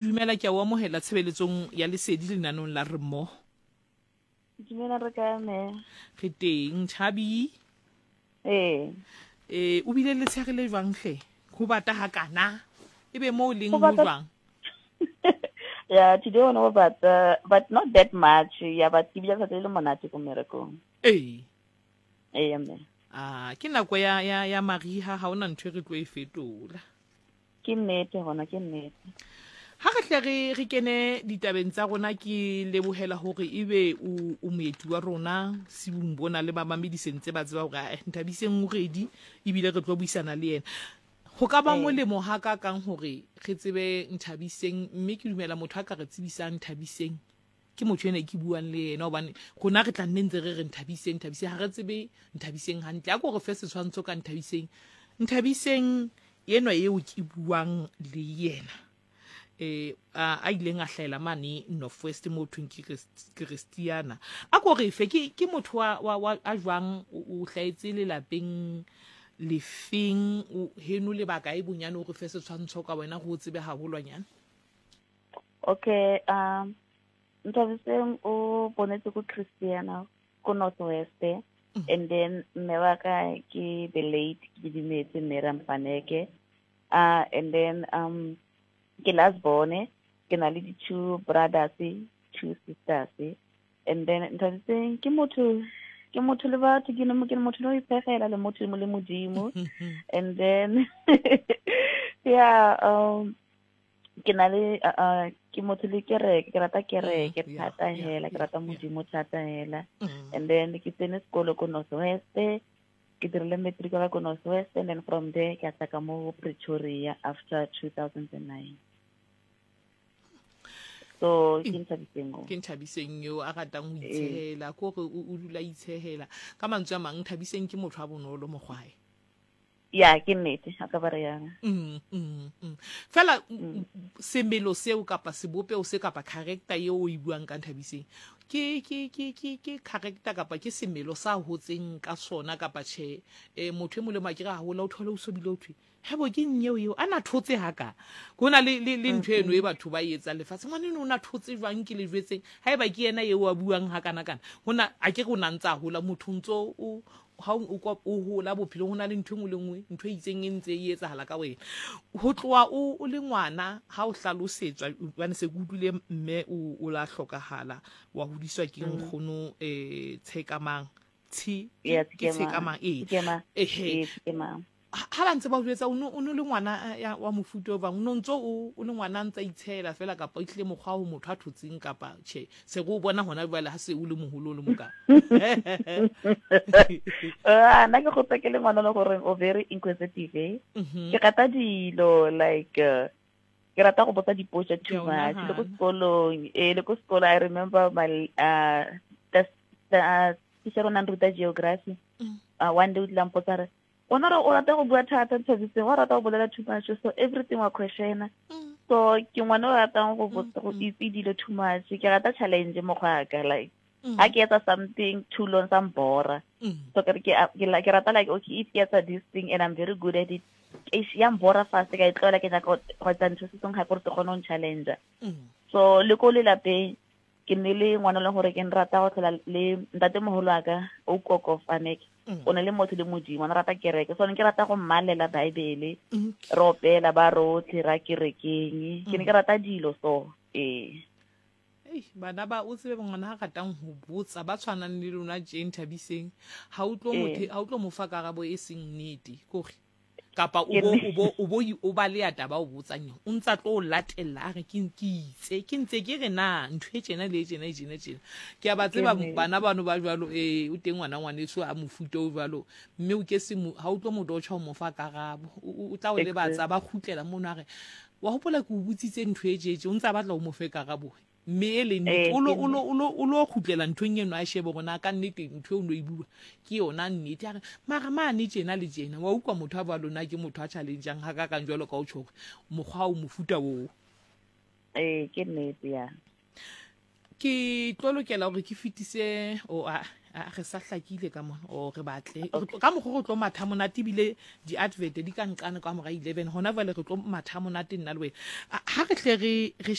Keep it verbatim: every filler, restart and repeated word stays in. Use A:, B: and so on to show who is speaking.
A: Dumela, ke a o amohela tshebeletsong ya Lesedi lenanong la Re Mmoho.
B: Dumela, re kae mme?
A: Re teng, Thabi.
B: Ee.
A: Eh, o bile letshehare le jwang hle? Ho bata hakana. Ebe mo o leng
B: Ho
A: ho
B: bata
A: jwang?
B: Yeah, today one ho bata, but not that much. Yeah, but ke bile letsatsi le le monate ko mmerekong.
A: Ee.
B: Ee, mme.
A: Ah, ke nako ya ya ya mariha, ha hona ntho e re tlo e fetola.
B: Ke nnete hona, ke nnete.
A: Ha re hle re re kene ditabeng tsa rona, ke lebohela hore ebe o o moeti wa rona sibung bona le bamamedi sentse ba tseba hore eh, Nthabiseng o ready ebile re tlo buisana le yena. Ho ka ba
B: Ee.
A: molemo ha ka kang hore re tsebe Nthabiseng, mme ke dumela motho a ka re tsebisang Nthabiseng ke motho ena e ke buang le yena, hobane rona re tla nne ntse re re Nthabiseng, Nthabiseng, ha re tsebe Nthabiseng hantle. A ko re fe setshwantsho ka Nthabiseng. Nthabiseng enwa eo ke buang le yena, eh a a ileng a hlahela mane North West mo thweng ke Christiana. A ko re fe ke ke motho wa wa, wa a jwang, o o hlahetse lelapeng lefeng, o heno lebaka e bonyane, o re fe setshwantsho ka wena go o tsebe haholwanyane.
B: Okay, um Nthabiseng o bonetse ko Christiana ko North West.
A: Mm.
B: And then mme wa ka ke the late ke Didimetse mme Rampaneke. Uh and then um ke last born, ke na le di two brothers, two sisters. And then Nthabiseng ke motho ke motho le batho, ke ne ke motho le ho iphegela le motho le Modimo. And then yeah, um ke na le uh, uh, ke motho le kereke, ke rata kereke
A: Mm, yeah,
B: thata
A: yeah,
B: hela, ke
A: yeah,
B: rata
A: yeah.
B: Modimo thata hela.
A: Mm.
B: And then ke tsene sekolo ko North West, ke dirile matric wa ka ko North West, and then from there ke a tla ka mo Pretoria after two thousand and nine. So ke Nthabiseng o.
A: Ke Nthabiseng eo a ratang ho
B: Ee.
A: itshehela, ke hore o o dula a itshehela. Ka mantswe a mang, Nthabiseng ke motho a bonolo mokgwae.
B: Ya, ke nnete, a ka ba re yana.
A: Mm, mm, mm. Fela
B: Mm.
A: semelo seo kapa sebopeho se kapa character eo o e buang ka Nthabiseng, ke ke ke ke ke character kapa ke semelo sa hotseng ka sona kapa tjhe? Eh, motho e molemo a ke re haholo o thole o sobile o thwe hebo ke nyeo eo a na thotse haka. Ho na le le le ntho eno e batho ba e etsang lefatshe, ngwana eno o na thotse jwang ke le jwetseng, haeba ke yena eo a buang hakana kana. Ho na a ke re o na ntsa hola motho ntso o ha o o o hola bophelong, ho na le ntho e nngwe le nngwe, ntho e itseng e ntse e etsahala ka wena. Ho tloha o o le ngwana ha o hlalosetswa, hobane se ke utlwile mme o o la hlokahala, wa hodiswa ke
B: Mm.
A: nkgono eh Tshekamang. Tshe
B: Yeah,
A: ke ke
B: Tshekemang.
A: Tshekamang, ee.
B: Tshekemang.
A: Ehe.
B: Ee, Tshekemang.
A: Ha ha ba ntse ba o jwetsa, o no o no le ngwana ya wa mofuta o bang, o no ntso o o le ngwana a ntsa itshehela fela, kapa o tlile mokgwa ho motho a thotseng kapa tjhe, se re o bona hona jwale ha se o le moholo o le moka.
B: Ah, nna ke gotse ke le ngwana le gore o very inquisitive. eh.
A: Mhm.
B: Ke rata dilo like uh, ke rata go botsa dipotso
A: Ke
B: too
A: a o
B: much. Le ko
A: nahana.
B: sekolong, eh le ko sekolo I remember my uh the, the uh, teacher o nang ruta geography.
A: Mm.
B: Uh, one day o tlile a mpotsa a re, o na re o rata go bua thata Nthabiseng, wa rata go bolela too much, so everything wa questiona.
A: Mm.
B: So ke ngwana o ratang go
A: Mm,
B: botsa go
A: mm.
B: itse dilo too much. Ke rata challenge mokgwa ka like
A: Mm.
B: ha ke etsa something too long sa mbora.
A: Mm.
B: So ke re ke ke la- ke rata like okay if ke etsa this thing and I'm very good at it, eish, ya mbora fast ka e tlohela, ke nyaka go go etsa ntho se sengwe gape gore ke kgone go challenge.
A: Mm.
B: So le ko lelapeng ke ne le ngwana e leng gore ke nrata go tlhola le ntatemoholo wa ka o koko Faneke.
A: Mm.
B: O ne le motho le Modimo, o ne rata kereke. So ne ke rata go mmalela Bible,
A: Okay.
B: re opela ba rotlhe ra kerekeng. Ke ne ke rata dilo so ee.
A: Ei, bana ba o tsebe ngwana ha ratang ho botsa ba tshwanang le lona tje Nthabiseng, ha o tlo
B: Ee.
A: motho ha o tlo mo fa karabo e seng nnete, kore kapa o
B: Ke
A: bo
B: ne-
A: o bo o bo o ba le ya taba o botsang yona, o ntsa tlo o latella a re ke ke itse ke ntse ke re na ntho e tjena le e tjena e tjena tjena. Ke a ba tseba
B: nnete.
A: bana bano ba jwalo, eh o teng ngwana ngwaneso a mofuta o jwalo, mme o ke se mo ha o tlo mo dotjha o mo fa karabo, o o tla o lebatsa ba kgutlela mono a re wa hopola ke o botsitse ntho e tje tje, o ntsa batla o mo fe karabo mme e le nnete,
B: Eh,
A: o lo
B: ke
A: o lo o lo o lo kgutlela nthong eno a shebe hore na ka nnete ntho eo o no e bua ke yona nnete. A re mara mane tjena le tjena, wa utlwa motho a bua lona ke motho a challenge-ang ha ka kang jwalo ka o tjho hore mokgwa o mofuta oo.
B: Ee, ke nnete ya.
A: Ke tlo lokela hore ke fetise o a A re sa hlakile ka mona o re batle ka mokgwa re tlo matha monate, ebile di-advert di ka nqane ka mora eleven. Hona jwale re tlo matha monate nna le wena. Ha re hle re re